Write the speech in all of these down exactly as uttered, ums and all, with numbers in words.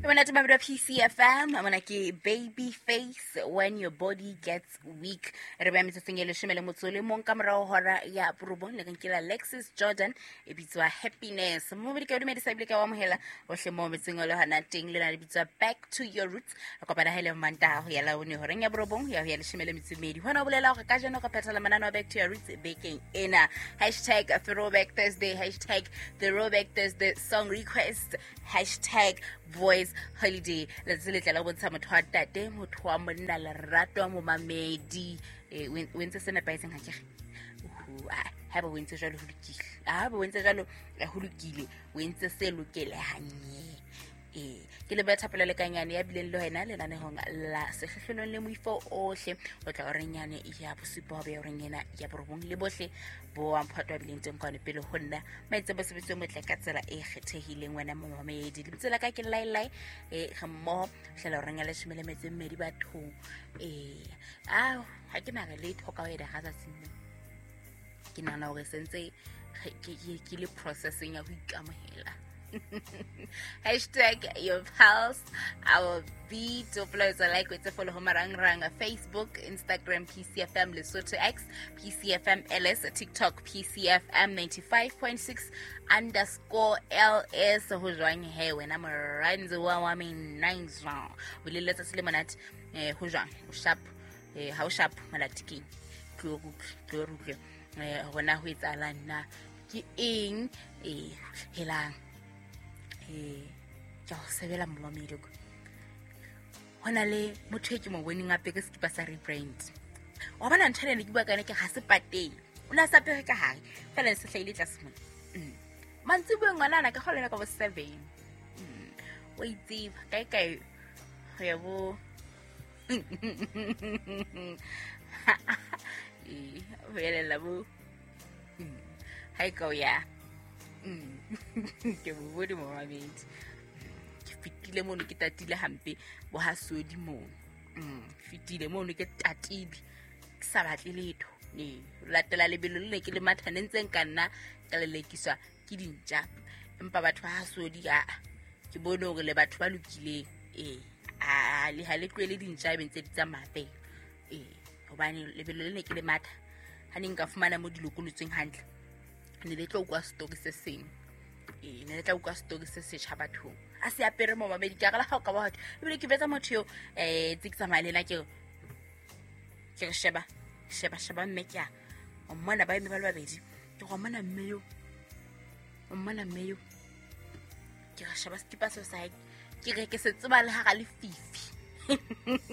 Monate mabedi wa P C F M, mona ke Baby Face, When Your Body Gets Weak. Re beha metsotsong e leshome le motso o le mong ka morao hora ya borobong, le ke la Alexis Jordan e bitswa Happiness. Momedi ke o dumedisa ebile ke o amohela hohle moo metseng o le hona teng, le na le bitswa Back to Your Roots. Re kopana ha ile Mantaha ho ya Labone horeng ya borobong ya ho ya leshome le metso e mmedi. Hona ho bolela hore kajeno re phethela mananeo a Back to Your Roots bekeng ena. Hashtag Throwback Thursday, hashtag Throwback Thursday song request, hashtag Boys Holiday. Letsatsi le tla la bontsha motho wa ntate, motho wa monna, lerato wa momamedi. Eh, o entse se nepahetseng ha ke re? Uhu, ah, haeba o entse jwalo ho lokile. Ah, haeba o entse jwalo, eh, ho lokile. O entse se lokelehang. Eh, ke le Thapelo Lekanyane ya bileng le wena lenanehong la Sehlohlolong le Moifo ohle. O tla horeng yane ya bosupa ho beha horeng ena ya borobong le bohle bo wa mphato wa bileng teng kwano pele ho nna. Maitse mosebetsi o motle ka tsela e kgethehileng wena momamedi. Lebitso la ka ke Lailai, eh, re mmoho hlela horeng ya leshome le metso e mmedi bathong. Eh, ah, ha ke na re letho ka ho eda ga tsatsing lena. Ke nahana hore sentse ke, ke, ke le processing ya ho ikamohela. Hashtag your pulse, our beat. Uploads like with follow marangrang Facebook, Instagram, P C F M Lesotho X, P C F M L S, TikTok, P C F M ninety-five point six underscore L S. Ho jwang he wena moranzi wa wa me nine jwang. O le letsatsi le monate, eh, ho jwang? O sharp, eh, ha o sharp malatikeng. Tlo rutle, tlo rutle. Eh, hona ho etsahalang na? Ke eng? Eh, helang. Eh, ke ho sebela momamedi ko. Ho na le motho e ke mo boneng a apere sekipa sa rebrand. Wa bona ntho ena ne ke bua ka yona ke ha se pateng. O ne a sa apere ka hare, fela ne se hlahile tlase mona. Mm. Mantsiboeng ngwanana ka kgolwa ka bo seven. Mm. O itseba kae kae ho ya bo Eh, ho elela bo. Mm. Ha e ka o ya. Mm. Ke bo bone momamedi. Ke fetile mono ke tatile hampe bo ha sodi mono. Mm, fetile mono ke tatile. Ke sa batle letho. Ne, latela lebelo le ne ke le matha ne ntse nka nna ka lelekiswa ke dintja. Empa batho ba ha sodi a ke bone hore le batho ba lokileng. Eh, a le ha le tlohele dintja e be ntse di tsamaya fela. Eh, hobane lebelo le ne ke le matha ha ne nka fumana mo di lokolotsweng hantle. Ne le tlo utlwa story se seng. Eh, ne le tla utlwa story se setjha bathong. A se apere momamedi, ke a re le ha o ka ba hotho. Ebile ke betsa motho eo, eh, tse ke tsamaya le ena ke re, ke re sheba, sheba, sheba mme ke a, o mmona ba eme ba le babedi. Ke re, o mmona mme eo, o mmona mme eo. Ke re sheba sekipa seo sa hae, ke re ke se tseba le hara lefifi.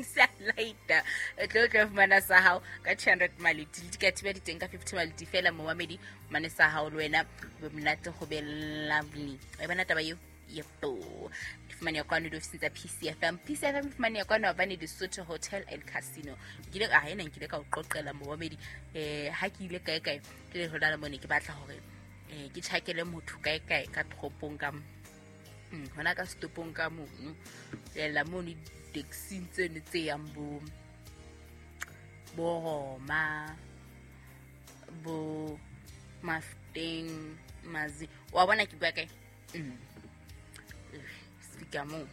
Se a laita. O tlo tlo fumana sa hao ka two hundred maleti. Le dikatiba di teng ka fifty maleti fela momamedi, mane sa hao le wena ho be monate, ho be lovely. Wa e bona taba eo? Yebo. Di fumaneha kwano diofising tsa P C F M. P C F M e fumaneha kwano hobane Lesotho Hotel and Casino. Nkile ka, ha ena nkile ka o qoqela momamedi. Eh, ha ke ile kae kae, ke le hona le mone ke batla hore, eh, ke tjhakele motho kae kae ka toropong ka mo. Mm, hona ka setopong ka mono. Lela mono di-taxi tseno tse yang bo, bo Roma, bo Mafeteng, Mazi. Wa bona ke bua kae? Mm. Sefika moo.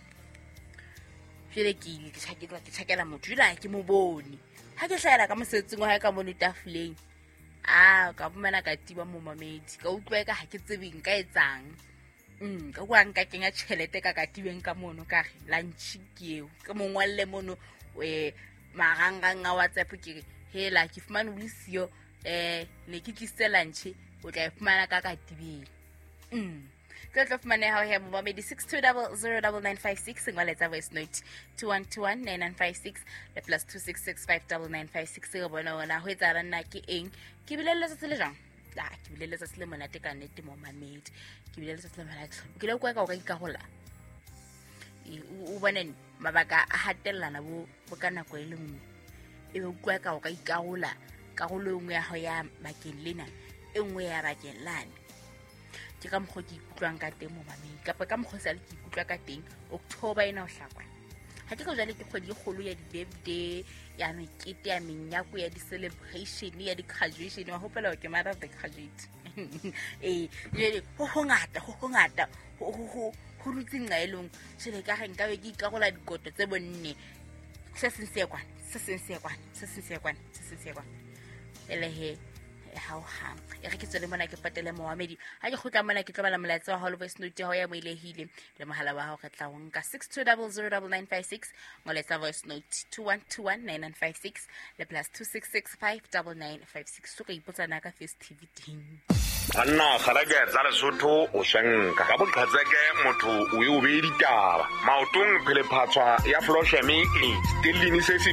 Jwale ke ile ke tjhakela, ke tjhakela motho, jwale ha ke mo bone. Ha ke hlahela ka mosebetsing wa hae ka mono tafoleng, ah, ka fumana katiba momamedi. Ka utlwa eka ha ke tsebe nka etsang. Mm, ka kwa nka kenya tjhelete ka katibeng ka mono, ka re lunch ke eo. Ke mo ngolle mono, eh, marangrang a WhatsApp ke re, hela ke fumane o le siyo, eh, ne ke tlisitse lunch, o tla e fumana ka katibeng. Mm. Tlo tlo fumaneha ho he momamedi six two double zero double nine five six, ngola voice note two one two one nine nine five six le plus two six six five double nine five six. Re bona hore na ho etsahalang na ke eng. Ke bile le letsatsi le jwang? Ah, ke bile letsatsi le monate ka nnete momamedi. Ke bile letsatsi le monate. O kile wa utlwa ka o ka ikarola? E, o, o bone mabaka a hatellana bo, bo ka nako e le nngwe. Ebe o utlwa ka o ka ikarola karolo e nngwe ya hao ya bakeng lena, e nngwe ya bakeng lane. Ke ka mokgwa ke ikutlwang ka teng momamedi, kapa ka mokgwa sale ke ikutlwa ka teng October ena ho hlakwa. Ha ke ka jwale ke kgwedi e kgolo ya di-birthday, ya mekete, ya menyako, ya di-celebration, ya di-graduation. Wa hopola hore ke mother of the graduate. Eh, jwale ho hongata, ho hongata, ho, ho, ho, Ho dutse nqa e leng tjhele ka re nka be ke ikarola dikoto tse bonne. Se seng se ye kwana, se seng se ye kwana, se seng se ye kwana, se seng se ye kwana. Ele he ha o hang. E re ke tswele mona ke patele moamedi. Ha ke kgutla mona ke tlo bala molaetsa wa hao le voice note ya hao ya moelehile le mohala wa hao re tla o nka six two double zero double nine five six, molaetsa voice note two one two one nine nine five six le plus two six six five double nine five six. So ka ipotsa na ka Face T V teng. Banna kgalake tsa Lesotho o swenka ka boqhetseke motho o e o beye ditaba maotong phelephatswa ya Flosheme e stellini se se